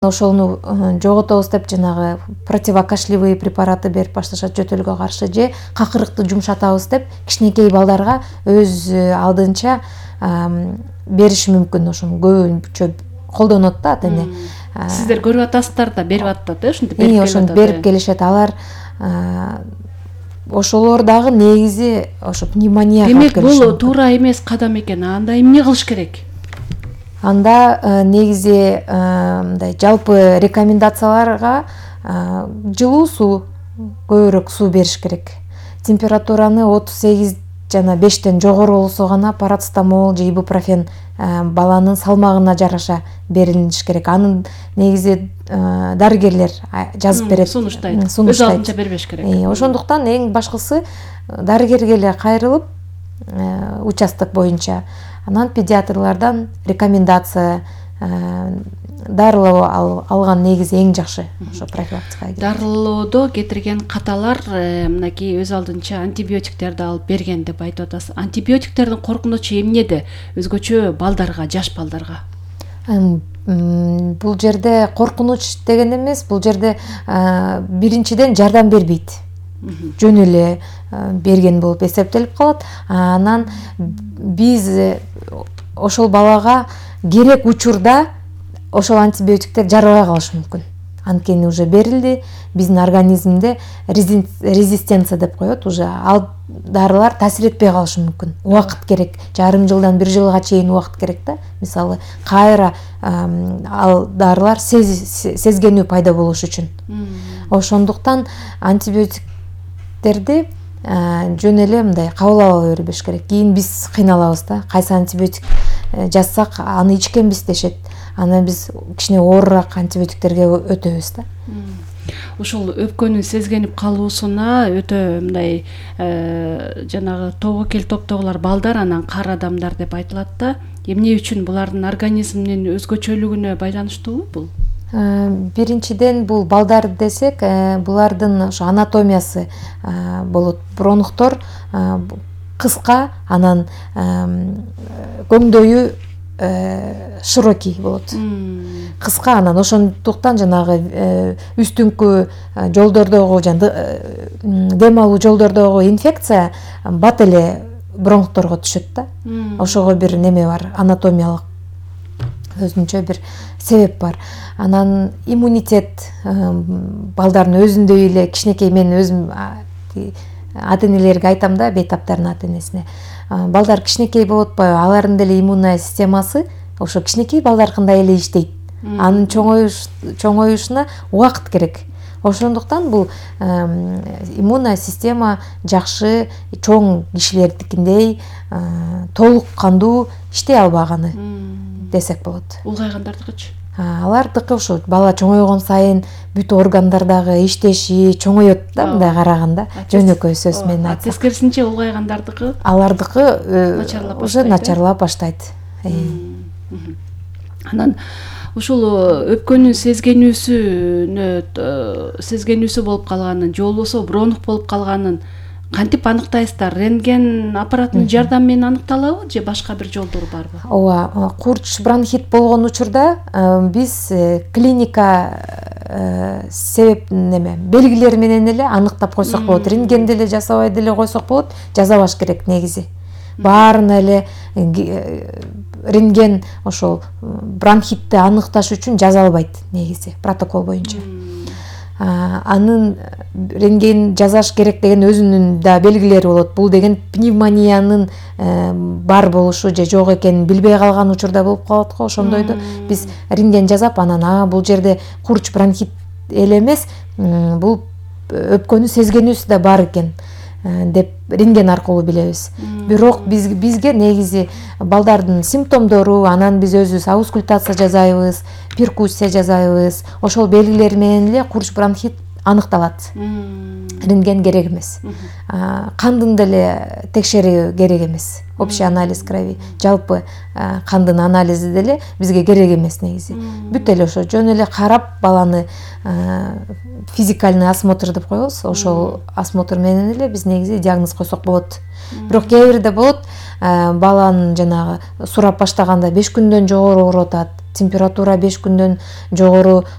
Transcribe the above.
ошону жоготобуз деп жанагы противокашлевый препараты берип башташат жөтөлгө каршы, же какырыкты жумшатабыз деп кичинекей балдарга өз алдынча бериши мүмкүн. Ошону көбүнчө колдонот да ата-эне. Сиздер көрүп атасыздар да, берип атат, ошентип берип келет. Ошентип берип келишет. Алар ошолор дагы негизи ошо пневмонияга алып келишет. Демек, бул туура эмес кадам экен. Анда эмне кылыш керек? Анда негизи мындай жалпы рекомендацияларга жылуу суу, көбүрөөк суу бериш керек. Температураны 38 жана 5тен жогору болсо гана парацетамол же ибупрофен баланын салмагына жараша берилиш керек. Анын негизи дарыгерлер жазып берет. Сунуштайт. Өз алдынча бербеш керек. Ошондуктан эң башкысы дарыгерге эле кайрылып, участок боюнча анан педиатрлардан рекомендация дарылоо алган негизи эң жакшы ошо профилактикага. Дарылоодо кетирген каталар мынакей өз алдынча антибиотиктерди алып берген деп айтып атасыз. Антибиотиктердин коркунучу эмнеде? Өзгөчө балдарга, жаш балдарга. Бул жерде коркунуч деген эмес, бул жерде биринчиден жардам бербейт. Жөн эле берген болуп эсептелип калат. Анан биз ошол балага керек учурда ошол антибиотиктер жарабай калышы мүмкүн. Анткени уже берилди, биздин организмде резистенция деп коет, уже ал дарылар таасир этпей калышы мүмкүн. Убакыт керек, жарым жылдан 1 жылга чейин убакыт керек да. Мисалы, кайра ал дарылар сезгенүү пайда болуш үчүн. Ошондуктан антибиотиктерди жөн эле мындай кабыл албай бербеш керек. Кийин биз кыйналабыз да. Кайсы антибиотик жазсак, аны ичкенбиз дешет. Анан биз кичине оорураак антибиотиктерге өтөбүз да. Ушул өпкөнүн сезгенип калуусуна өтө мындай жанагы тобокел топтогулар балдар, анан кар адамдар деп айтылат да. Эмне үчүн булардын организминин өзгөчөлүгүнө байланыштуубу бул? Биринчиден бул балдар десек, булардын ошо анатомиясы болот. Бронхтор кыска, анан көңдөйү широкий болот. Кыска, анан ошондуктан жанагы үстүңкү жолдордогу дем алуу жолдордогу инфекция бат эле бронхторго түшөт да. Ошого бир неме бар, анатомиялык өзүнчө бир себеп бар. Анан иммунитет балдардын өзүндөй эле кичинекей, мен өзүм ата-энелерге айтам да, бейтаптардын ата-энесине. Балдар кичинекей болуп атпайбы, алардын деле иммунный системасы ошо кичинекей балдаркындай эле иштейт. Анын чоңоюшуна убакыт керек. Ошондуктан бул иммунный система жакшы, чоң кишилердикиндей толук кандуу иштей албаганы десек болот. Улгайгандардыкычы? Алардыкы ошо бала чоңойгон сайын бүт органдардагы иштеши чоңоет да, мындай караганда. Жөнөкөй сөз менен айтсак. Тескерисинче улгайгандардыкы? Алардыкы уже начарлап баштайт. Анан ушул өпкөнүн сезгенүүсү болуп калганын, же болбосо бронх болуп калганын кантип аныктайсыздар? Рентген аппаратынын жардамы менен аныкталабы, же башка бир жолдору барбы? Ооба, курч бронхит болгон учурда биз клиника себеп белгилери менен эле аныктап койсок болот. Рентгенди эле жасабай деле койсок болот, жасабаш керек негизи. Баарына эле рентген ошол бронхитти аныкташ үчүн жасалбайт негизи протокол боюнча. Анын рентген жасаш керек деген өзүнүн да белгилери болот. Бул деген пневмониянын бар болушу же жок экенин билбей калган учурда болуп калат го. Ошондойду биз рентген жасап, анан бул жерде курч бронхит эле эмес, бул өпкөнү сезгенүүсү да бар экен деп рентген аркылуу билебиз. Бирок бизге негизи балдардын симптомдору, анан биз өзүбүз аускультация жасайбыз, перкуссия жасайбыз. Ошол белгилер менен эле курч бронхит аныкталат. Рентген керек эмес. Кандын деле текшерүү керек эмес. Общий анализ крови, жалпы кандын анализи деле бизге керек эмес негизи. Бүт эле ошо жөн эле карап баланы физикальный осмотр деп коебуз. Ошол осмотр менен эле биз негизи диагноз койсок болот. Бирок кээ бирде болот, баланын жанагы сурап баштаганда 5 күндөн жогору ооруп атат, температура 5 күндөн жогору